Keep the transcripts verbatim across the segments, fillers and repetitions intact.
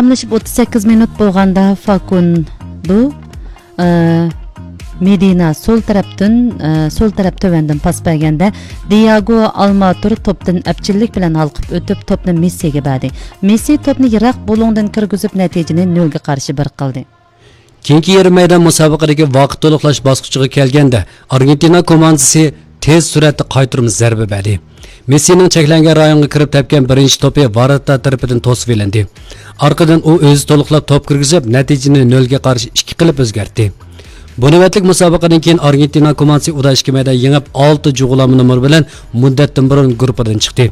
تاماملىشىپ ئوتتۇز سەككىز مىنۇت بولغاندا فاكۇندو، ئە، مېدىنا سول تەرەپتىن، ئە، سول تەرەپ تۆۋەندىن پاس بەرگەندە، دىياگو ئالماتۇر توپتىن ئەپچىللىك بىلەن ھالقىپ ئۆتۈپ، توپنى مېسسىگە بەردى. مېسسى توپنى يىراق بۇلۇڭدىن كىرگۈزۈپ، نەتىجىنى نۆلگە قارشى بىر قىلدى. كېيىنكى يېرىم مەيدان مۇسابىقىدىكى ۋاقىت تولۇقلاش باسقۇچىغا كەلگەندە، ئارگېنتىنا كوماندىسى تېز سۈرئەتتە قايتۇرما زەربە بەردى. مېسسىنىڭ چەكلەنگەن رايونغا كىرىپ تەپكەن بىرىنچى توپى ۋاراتتا تەرىپىدىن توسۇۋېلىندى. ئارقىدىن ئۇ ئۆزى تولۇقلاپ توپ كىرگۈزۈپ، نەتىجىنى نۆلگە قارشى ئىككى قىلىپ ئۆزگەرتتى. بۇ نۆۋەتلىك مۇسابىقىدىن كېيىن ئارگېنتىنا كوماندىسى ئۇدا ئىككى مەيدان يېڭىپ، ئالتە جۇغلانما نومۇر بىلەن مۇددەتتىن بۇرۇن گۇرۇپپىدىن چىقتى.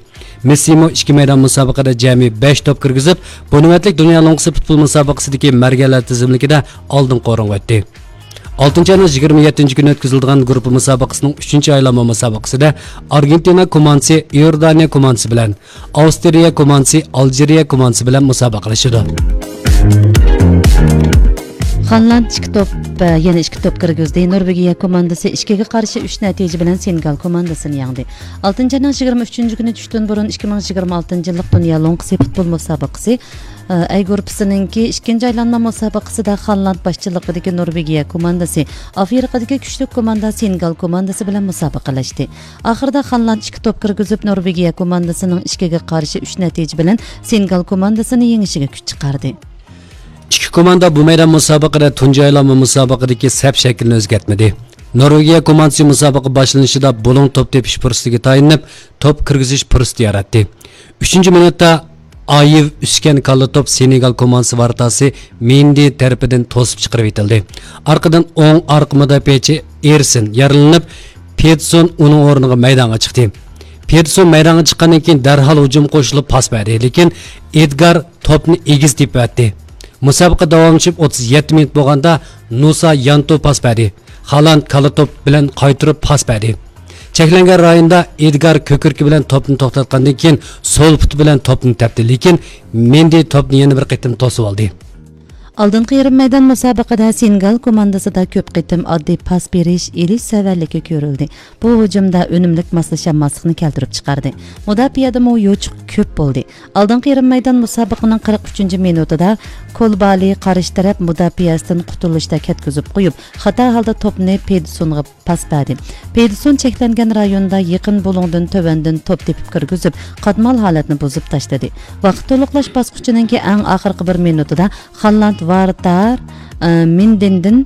مېسسىمۇ ئىككى مەيدان مۇسابىقىدە جەمئىي بەش توپ كىرگۈزۈپ، بۇ نۆۋەتلىك دۇنيا لوڭقىسى پۇتبول مۇسابىقىسىدىكى مەرگەنلەر تىزىملىكىدە ئالدىنقى ئورۇنغا ئۆتتى. ئالتىنچى ئاينىڭ يىگىرمە يەتتىنچى كۈنى ئۆتكۈزۈلىدىغان گۇرۇپپا مۇسابىقىسىنىڭ ئۈچىنچى ئايلانما مۇسابىقىسىدە ئارگېنتىنا كوماندىسى ئىئوردانىيە كوماندىسى بىلەن، ئاۋسترىيە كوماندىسى ئالجىرىيە كوماندىسى بىلەن مۇسابىقىلىشىدۇ. خانلاند ئىككى توپ، يەنە ئىككى توپ كىرگۈزدى. نورۋېگىيە كوماندىسى ئىككىگە قارشى ئۈچ نەتىجە بىلەن سېنېگال كوماندىسىنى يەڭدى. ئالتىنچى ئاينىڭ يىگىرمە ئۈچىنچى كۈنى چۈشتىن بۇرۇن ئىككى مىڭ يىگىرمە ئالتىنچى يىللىق دۇنيا لوڭقىسى پۇتبول مۇسابىقىسى، ئە، ئەي گۇرۇپپىسىنىڭكى ئىككىنچى ئايلانما مۇسابىقىسىدە خانلاند باشچىلىقىدىكى نورۋېگىيە كوماندىسى ئافرىقىدىكى كۈچلۈك كوماندا سېنېگال كوماندىسى بىلەن مۇسابىقىلەشتى. ئاخىرىدا خانلاند ئىككى توپ كىرگۈزۈپ، نورۋېگىيە كوماندىسىنىڭ ئىككىگە قارشى ئۈچ نەتىجە بىلەن سېنېگال كوماندىسىنى يېڭىشىگە كۈچ چىقاردى. ئىككى كوماندا بۇ مەيدان مۇسابىقىدە تۇنجى ئايلانما مۇسابىقىدىكى سەپ شەكلىنى ئۆزگەرتمىدى. نورۋېگىيە كوماندىسى مۇسابىقە باشلىنىشىدا بۇلۇڭ توپ تېپىش پۇرسىتىگە تايىنىپ، توپ كىرگۈزۈش پۇرسىتى ياراتتى. ئۈچىنچى مىنۇتتا ئايېۋ ئۈسكەن كاللا توپ سېنېگال كوماندىسى ۋاراتاسى مېندى تەرىپىدىن توسۇپ چىقىرىۋېتىلدى. ئارقىدىن ئوڭ ئارقا مۇداپىئەچى ئېرسىن يارىلىنىپ، پېدسون ئۇنىڭ ئورنىغا مەيدانغا چىقتى. پېدسون مەيدانغا چىققاندىن كېيىن دەرھال ھۇجۇمغا قوشۇلۇپ پاس بەردى، لېكىن ئېدگار توپنى ئېگىز تېپىۋەتتى. مۇسابىقە داۋاملىشىپ ئوتتۇز يەتتە مىنۇت بولغاندا نۇسا يانتو پاس بەردى. خالاند كالا توپ بىلەن قايتۇرۇپ پاس بەردى. چەكلەنگەن رايوندا ئېدگار كۆكرىكى بىلەن توپنى توختاتقاندىن كېيىن سول پۇتى بىلەن توپنى تەپتى، لېكىن مېندى توپنى يەنە بىر قېتىم توسۇۋالدى. ئالدىنقى يېرىم مەيدان مۇسابىقىدە سېنېگال كوماندىسىدا كۆپ قېتىم ئاددىي پاس بېرىش، ئېلىش سەۋەنلىكى كۆرۈلدى. بۇ ھۇجۇمدا ئۈنۈملۈك ماسلىشالماسلىقنى كەلتۈرۈپ چىقاردى. مۇداپىئەدىمۇ يوچۇق كۆپ بولدى. ئالدىنقى يېرىم مەيدان مۇسابىقىنىڭ قىرىق ئۈچىنچى مىنۇتىدا كولبالى قارشى تەرەپ مۇداپىئەسىدىن قۇتۇلۇشتا كەتكۈزۈپ قويۇپ، خاتا ھالدا توپنى پېدسونغا پاس بەردى. پېدسون چەكلەنگەن رايوندا يېقىن بۇلۇڭدىن تۆۋەندىن توپ تېپىپ كىرگۈزۈپ، قاتمال ھالەتنى بۇزۇپ تاشلىدى. ۋاقىت تولۇقلاش باسقۇچىنىڭكى ئەڭ ئاخىرقى بىر مىنۇتىدا خاللاند ۋارتار، ئە، مېندىندىن،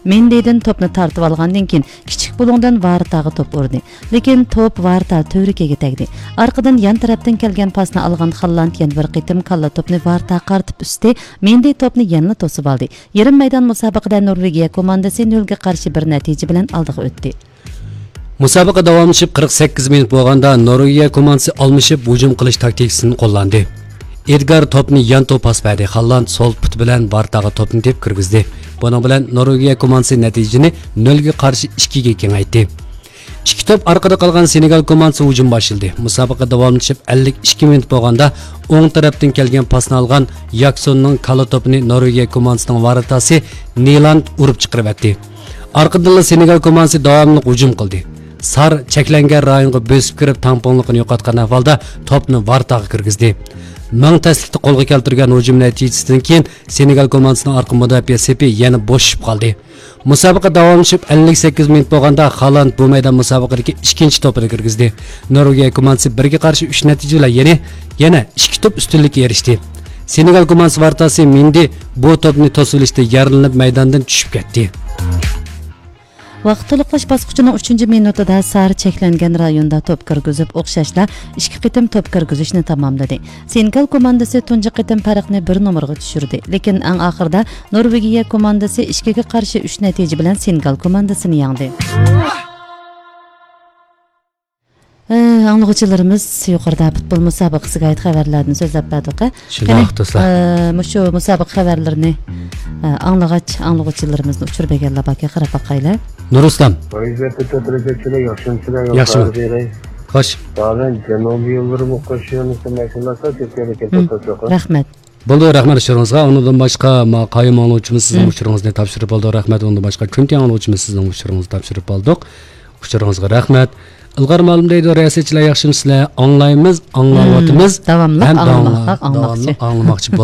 مېندىدىن توپنى تارتىۋالغاندىن كېيىن، كىچىك بۇلۇڭدىن ۋارتاغا توپ ئۇردى. لېكىن توپ ۋارتا تۈۋرۈكىگە تەگدى. ئارقىدىن يان تەرەپتىن كەلگەن پاسنى ئالغان خاللاند يەنە بىر قېتىم كاللا توپنى ۋارتاغا قارىتىپ ئۈستى، مېندى توپنى يەنىلا توسۇۋالدى. يېرىم مەيدان مۇسابىقىدە نورۋېگىيە كوماندىسى نۆلگە قارشى بىر نەتىجە بىلەن ئالدىغا ئۆتتى. مۇسابىقە داۋاملىشىپ قىرىق سەككىز مىنۇت بولغاندا، نورۋېگىيە كوماندىسى ئالمىشىپ ھۇجۇم قىلىش تاكتىكىسىنى قوللاندى. ئېدگار توپنى يانتو پاس بەردى، خاللاند سول پۇتى بىلەن ۋارتاغا توپنى تېپىپ كىرگۈزدى. بۇنىڭ بىلەن نورۋېگىيە كوماندىسى نەتىجىنى نۆلگە قارشى ئىككىگە كېڭەيتتى. ئىككى توپ ئارقىدا قالغان سېنېگال كوماندىسى ھۇجۇم باشلىدى. مۇسابىقە داۋاملىشىپ ئەللىك ئىككى مىنۇت بولغاندا، ئوڭ تەرەپتىن كەلگەن پاسنى ئالغان ياكسوننىڭ كالا توپىنى نورۋېگىيە كوماندىسىنىڭ ۋاراتاسى نىلاند ئۇرۇپ چىقىرىۋەتتى. ئارقىدىنلا سېنېگال كوماندىسى داۋاملىق ھۇجۇم قىلدى. سار چەكلەنگەن رايونغا بۆسۈپ كىرىپ، تەڭپۇڭلۇقىنى يوقاتقان ئەھۋالدا توپنى ۋارتاغا كىرگۈزدى. مىڭ تەسلىكتە قولغا كەلتۈرگەن ھۇجۇم نەتىجىسىدىن كېيىن، سېنېگال كوماندىسىنىڭ ئارقا مۇداپىئە سېپى يەنە بوشىشىپ قالدى. مۇسابىقە داۋاملىشىپ ئەللىك سەككىز مىنۇت بولغاندا، خالاند بۇ مەيدان مۇسابىقىدىكى ئىككىنچى توپىنى كىرگۈزدى. نورۋېگىيە كوماندىسى بىرگە قارشى ئۈچ نەتىجە بىلەن يەنە، يەنە ئىككى توپ ئۈستۈنلۈككە ئېرىشتى. سېنېگال كوماندىسى ۋارتاسى مېندى بۇ توپنى توسۇۋېلىشتا يارىلىنىپ مەيداندىن چۈشۈپ كەتتى. ۋاقىت تولۇقلاش باسقۇچىنىڭ ئۈچىنچى مىنۇتىدا سار چەكلەنگەن رايوندا توپ كىرگۈزۈپ، ئوخشاشلا ئىككى قېتىم توپ كىرگۈزۈشنى تاماملىدى. سېنېگال كوماندىسى تۇنجى قېتىم پەرقنى بىر نومۇرغا چۈشۈردى، لېكىن ئەڭ ئاخىرىدا نورۋېگىيە كوماندىسى ئىككىگە قارشى ئۈچ نەتىجە بىلەن سېنېگال كوماندىسىنى يەڭدى. ئە، ئاڭلىغۇچىلىرىمىز يۇقىرىدا پۇتبول مۇسابىقىسىگە ئائىت خەۋەرلەردىن سۆزلەپ بەردۇق. شۇنداق، قېنى، دوستلار. ئە، مۇشۇ مۇسابىقە خەۋەرلىرىنى، ئە، ئاڭلىغاچ، ئاڭلىغۇچىلىرىمىزنى ئۇچۇر بەرگەنلەر باركەن، قاراپ باقايلى. نۇرئىسلام. ۋەزىيەتتە تۆت دەرىجە چىلى ياخشىمۇ سىلەر؟ ياخشىمۇ؟ خوش. دادىن جەنۇبىي يوللىرىمۇ قوشۇۋېرىلسە ماشىنىلار كۆپ يەرگە كېتىپ توسۇق. رەھمەت. بولدى، رەھمەت ئۇچۇرىڭىزغا. ئۇنىڭدىن باشقا، ما-، قايۇم ئاڭلىغۇچىمىز سىزنىڭ ئۇچۇرىڭىزنى تاپشۇرۇپ بولدى. رەھمەت. ئۇنىڭدىن باشقا، كۈنتى ئاڭلىغۇچىمىز سىزنىڭ ئۇچۇرىڭىزنى تاپشۇرۇپ بولدۇق. ئۇچۇرىڭىزغا رەھمەت. ئىلغار مالۇم دەيدۇ، رىياسەتچىلەر ياخشىمۇسىلەر؟ ئاڭلايمىز، ئاڭلاۋاتىمىز. داۋاملىق ھەم ئاڭلىماقلىق، داۋاملىق ئاڭلىماقچى. ئاڭلىماقچى بولۇپ.